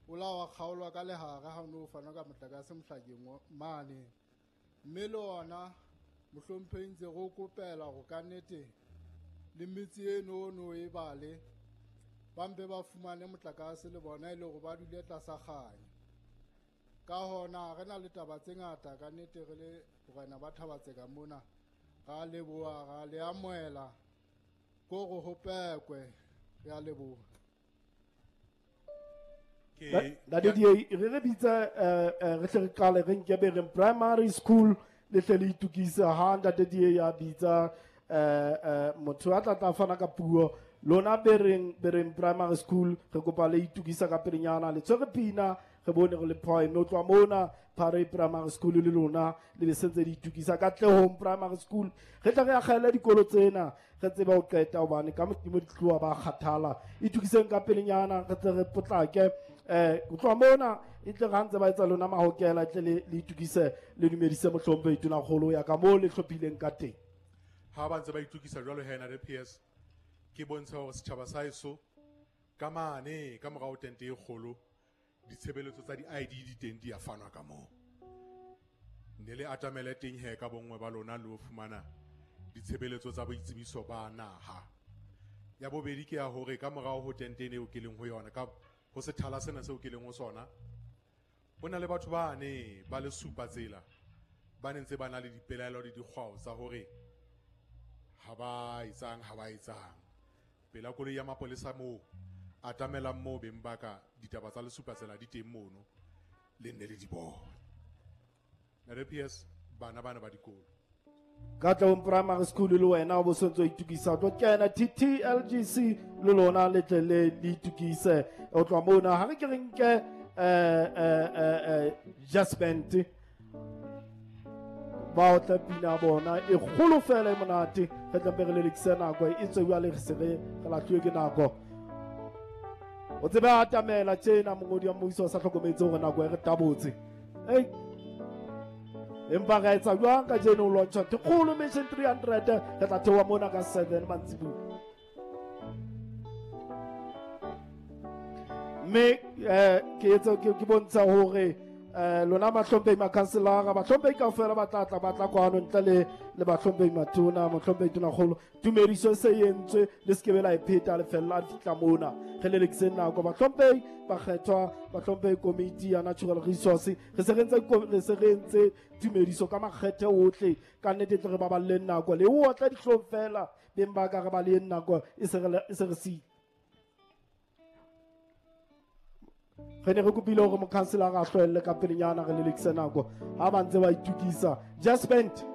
O la wa kgaolwa ka lehare ha o no fanwa ka motlakase mohlakeng mane. Mme le ona mohlomphehi ntse re o kopela hore ka nnete le metse eno no e bale ba mpe ba fumane motlakase le bona e le hore ba dule tlasa kganya. Ka hona re na le taba tse ngata ka nnete re le borena ba Thaba-Tseka mona. Ra leboha, ra le amohela ko re ho pekwe. Re a leboha. Ntate DA, re bitse re hle re qale re nke Bereng Primary School le hle le itukise ha Ntate DA ya bitsa motho a tla tla fana ka puo. Lona Bereng Primary School re kopa le itukisa ka pelenyana, le tshwere pina re bone re le phoe. Mme ho tloha mona Phare Primary School le lona le be sentse le itukisa. Katlehong Primary School re tla re akgele dikolo tsena re tsebe ho qeta hobane ka modimo di tloha ba kgathala. Itukiseng ka pelenyana re tle re potlake. Ho tloha mona e tle re ha ntse ba etsa lona mahokela, e tle le itukise le dumedise mohlomphehi Tonakgolo ya ka moo le hlophileng ka teng. Ha ba ntse ba itukisa jwalo he na le PS, ke bontsha hore setjhaba sa heso ka mane ka morao tente e kgolo ditshebeletso tsa di-ID di teng di a fanwa ka moo. Ne le atamele teng he ka bonngwe ba lona le ho fumana ditshebeletso tsa boitsebiso ba naha. Ya bobedi ke ya hore ka morao ho tente eo ke leng ho yona, ka ho sethala sena seo ke leng ho sona, ho na le batho ba ne ba le supa tsela ba ne ntse ba na le dipelaelo le dikgwao tsa hore ha ba etsang, ha ba etsang. Pela koloi ya mapolesa moo, atamelang moo beng ba ka, ditaba tsa lesupa tsela di teng mono, le nne le di bone. Ntate PS, bana bana ba dikolo. Katlehong Primary School le wena o bo sentse o itukisa, o tlo kena TTLGC le lona le tle le itukise. O tloha mona ha re ke re nke Jasmine ba o tla pina bona e kgolo fela e monate. Re tla mpe re lelekise nako e tswe jwale re se re lahluwe ke nako. O tsebe a atamela tjena mongodi wa mmuso o sa hlokometse hore nako e re tabotse. Ei, empa re etsa jwang kajeno o launcha ntho e kgolo Mission 300, re tla theoha mona ka 7 mantsibuya. Mme ke etse ke bontsha hore lona bahlomphehi makhanselara, bahlomphehi kaofela ba tla tla ba tla kwano ntle le bahlomphehi matona, mohlomphehi Tonakgolo. Tumediso e se e entswe, le se ke be la e pheta, le fella le fihla mona. Re lelekiseng nako. Bahlomphehi bakgethwa, bahlomphehi komiti ya Natural Resource, re se re ntse re se re entse tumediso ka makgethe ohle. Ka nnete tle re baballeng nako. Le o otla dihlong fela, beng ba ka re ba leng nako e se re, e se re siile. Re ne re kopile hore mokhanselara a hlohelle ka pelenyana, re lelekise nako ha ba ntse ba itukisa. Just spent.